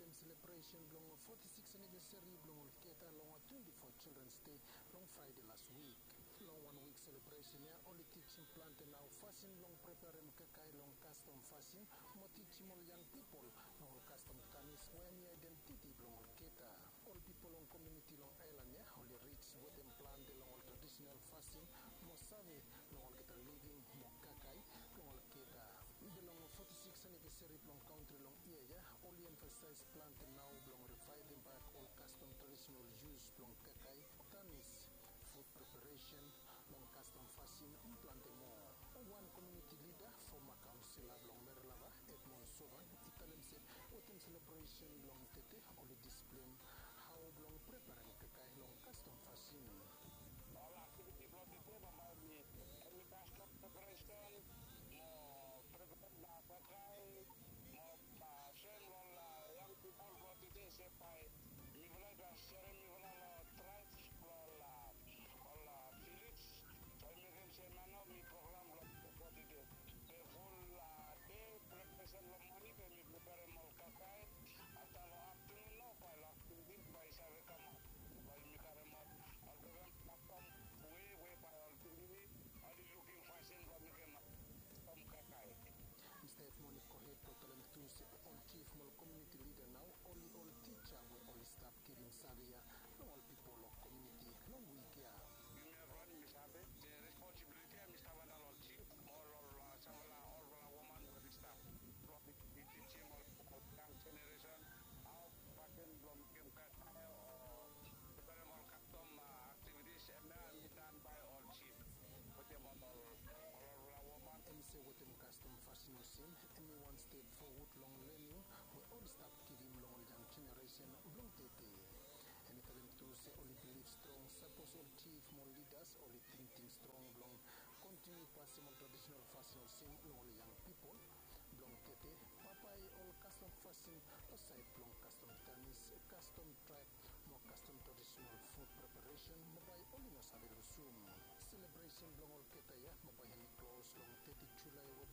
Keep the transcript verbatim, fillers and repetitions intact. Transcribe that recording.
Selebresen blong foti sikis anivesari blong olgeta long twenti fo Children's Day long Fraede las wik. Long wan wik selebresen ya oli tijim plante nao fasin blong preperem kakae long kastom fasin mo tijim ol yang pipol long ol kastom tanis we hemi aedentiti blong olgeta. Ol pipol long komuniti long aelan ya oli rij wetem plante long ol tradisenal fasin mo save long olgeta living mo kakae blong olgeta. Be long foti sikis anivesari blong kantri long yia ya oli emfasaes plante nao blong rivaevem bak ol kastom tradisenal yus blong kakae, tanis, fut preperesen long kastom fasin mo plante moa. Wan komuniti lida, foma kaonsela blong Merelava, Edmond Sovan, i talem se wetem selebresen blong tete oli displem hao blong preperem kakae long kastom fasin. Ol aktiviti blong tete bambae hemi kastom preperesen mo preperem kakae mo soem long ol yang pipol blong tede se bae mifala i gas serem mifala long traebs blong ol ol vilej. Bae mekem se hemia nao hemi program blong tede. Be ful dei preperesen long moning be mi preperem ol kakae. Afta long aftenun nao bae long aktiviti bae i save kamaot bae yumi karemaot ol program kastom we we bae ol pikinini oli lukim fasin blong mekem kastom kakae. Mista Edmond i gohed blong talem tu se ol jif mo ol komuniti lida nao oli ol tija we oli stap givim save ya long ol pipol long komuniti long wik ya. Yumi evriwan yumi save se responsibiliti ya hemi stap antap long ol jif mo ol ol samfala olfala woman we oli stap blong i tijim ol yang jeneresen hao fasin blong mekem kakae o preperem ol kastom aktivitis. Hemia hemi dan bae ol jif wetem ol ol olfala woman. Hemi se wetem kastom fasin olsem hemi wan step fowod long lening we oli stap givim long ol yang jeneresen blong tede. Hemi talem tu se oli bilif strong sapos ol jif mo ol lidas oli tingting strong blong kontiniu pasem ol tradisenal fasin olsem long ol yang pipol blong tede, bambae ol kastom fasin long saed blong kastom tanis, kastom traeb mo kastom tradisenal fut preperesen bambae oli no save lusum. Selebresen blong olgeta ya bambae hemi klos long teti Julae we